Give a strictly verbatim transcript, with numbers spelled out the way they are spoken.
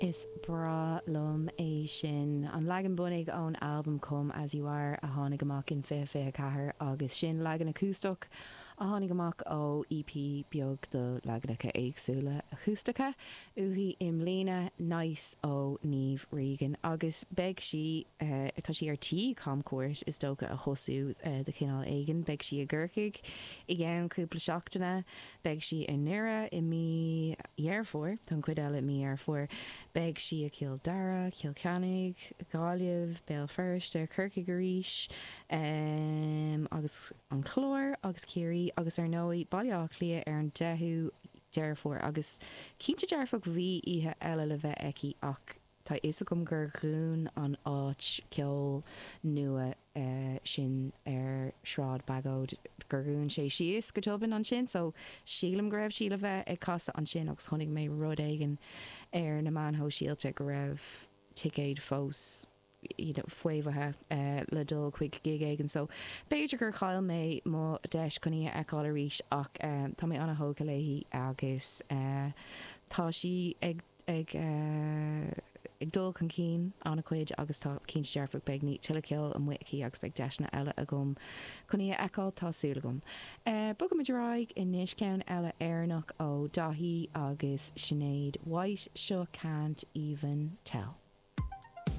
Is breá liom é sin. An leagan bunaidh ón albam Come As You Are a tháinig amach in fiche fiche ceathair agus sin leagan acústach a tháinig amach ó EP beag de leaganacha éagsúla acústacha uaithi i mbliana Nice ó Niamh Regan agus beidh sí tá sí ar tí camchuairt is dócha a thosú de chineál éigin, beidh sí i gCorcaigh i gceann cúpla seachtaine, beidh sí i nDoire i mí Dheireadh Fómhair, tá an chuid eile i mí Dheireadh Fómhair, beidh sí i Cill Dara, Cill Chainnigh, Gaillimh, Béal Feirste, Corcaigh arís agus an Clár agus Ciarraí agus ar ndóigh Baile Átha Cliath ar an deichiú Deireadh Fómhair agus cinnte dearfach bhí oíche eile le bheith aici ach tá fhios agam gur dhún an áit ceoil nua sin ar Shráid Bagóid gur dhún sé síos go tobann ansin so sílim go raibh sí le bheith ag casadh ansin agus chonaic mé rud éigin ar na meáin shóisialta go raibh ticéid fós you know, faomhaithe uh, le dul chuig gig éigin so b'fhéidir gur chaill mé mo deis chun í a fheiceáil arís ach uh, tá mé an-tógtha léi agus uh, tá sí ag ag uh, ag dul chun cinn an-chuid agus tá cinnte dearfach beidh ní tuilleadh ceoil amuigh aici agus beidh deiseanna eile agam chun í a fheiceáil tá súil agam. Uh, Bogaimid ar aghaidh anois ceann eile Éireannach ó Daithí agus Sinéad White seo can't even tell.